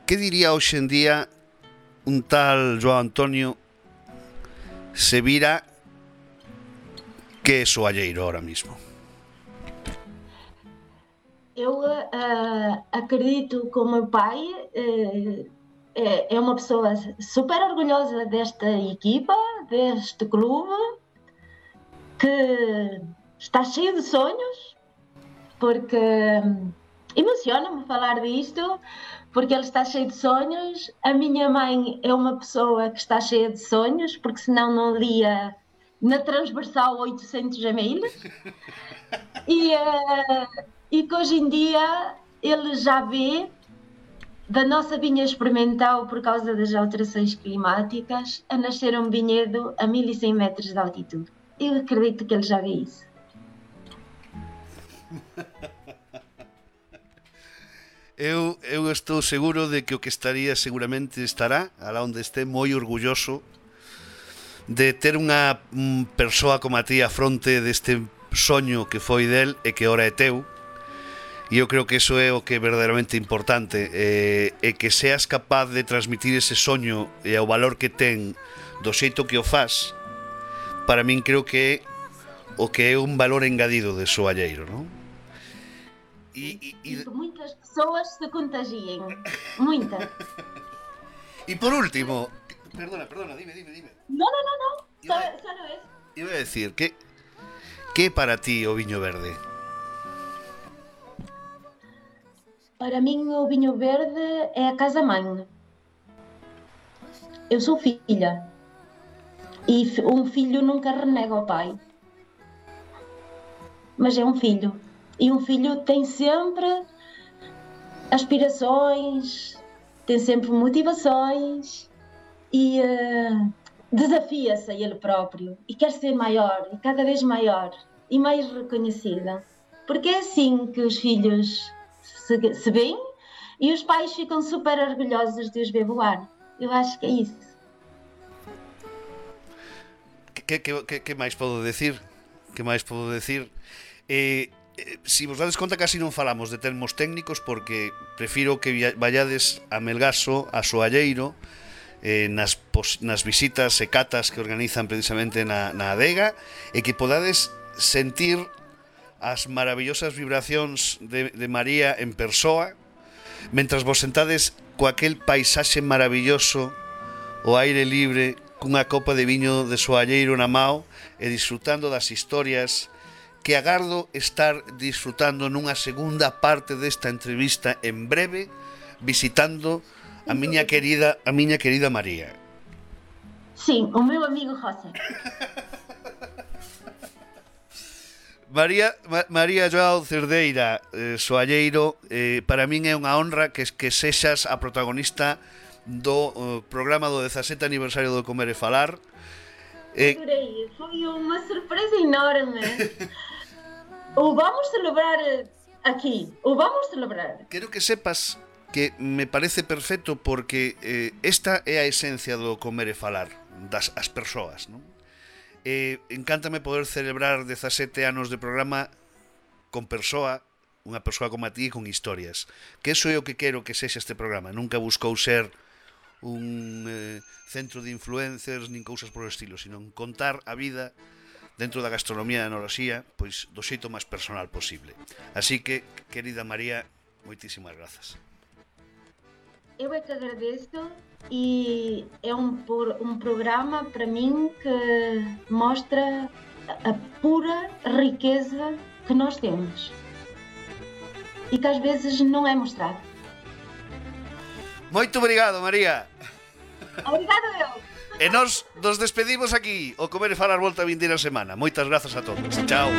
que diría hoxe en día un tal Joao Antonio se vira que é soalleiro ahora mismo? Eu acredito que o meu pai é uma pessoa super orgulhosa desta equipa, deste clube, que está cheio de sonhos, porque emociona-me falar disto, porque ele está cheio de sonhos. A minha mãe é uma pessoa que está cheia de sonhos, porque senão não lia na transversal 800 e-mails. E que hoje em dia ele já vê da nossa vinha experimental, por causa das alterações climáticas, a nascer um vinhedo a 1100 metros de altitude. Eu acredito que ele já vê isso. Eu estou seguro de que o que estaría seguramente estará, alá onde este, moi orgulloso de ter unha persoa como a ti a fronte deste soño que foi del e que ora é teu. E eu creo que iso é o que é verdadeiramente importante, e que seas capaz de transmitir ese soño e o valor que ten do xeito que o faz, para min creo que é o que é un valor engadido de soalleiro, non? E que muitas pessoas se contagiem, muitas. E por último, perdona, dime. No, solo eso. Iba a decir, que é para ti o viño verde? Para min o vinho verde é a casa-mãe. Eu sou filha. E um filho nunca renega ao pai. Mas é um filho. E um filho tem sempre aspirações, tem sempre motivações e desafia-se a ele próprio e quer ser maior, e cada vez maior e mais reconhecida. Porque é assim que os filhos se veem e os pais ficam super orgulhosos de os ver voar. Eu acho que é isso. Que máis podo decir? Si vos dades conta, casi non falamos de termos técnicos, porque prefiro que vallades a Melgaso, a Soalleiro, nas visitas e catas que organizan precisamente na adega, e que podades sentir as maravillosas vibracións de María en persoa, mentras vos sentades coaquel paisaxe maravilloso, o aire libre, cunha copa de viño de soalleiro na mao, e disfrutando das historias que agardo estar disfrutando nunha segunda parte desta entrevista en breve, visitando a miña querida María. Sim, o meu amigo José. María Joao Cerdeira, soalleiro, para min é unha honra que sexas a protagonista do programa do 17º aniversario do Comer e Falar. Adorei, foi unha sorpresa enorme. O vamos celebrar aquí, Quero que sepas que me parece perfecto, porque esta é a esencia do Comer e Falar, as persoas, non? Encántame poder celebrar 17 anos de programa con unha persoa como a ti, con historias. Que eso é o que quero que sexa este programa. Nunca buscou ser un centro de influencers nin cousas por estilo, sino contar a vida dentro da gastronomía e da enoloxía, pois do xeito máis personal posible. Así que, querida María, moitísimas grazas. Eu é que agradeço, e é um programa para mim que mostra a pura riqueza que nós temos e que às vezes não é mostrado. Moito obrigado, María. Obrigado eu. E nos despedimos aquí. O Comer e Falar volta a vindeira semana. Moitas grazas a todos. Chao.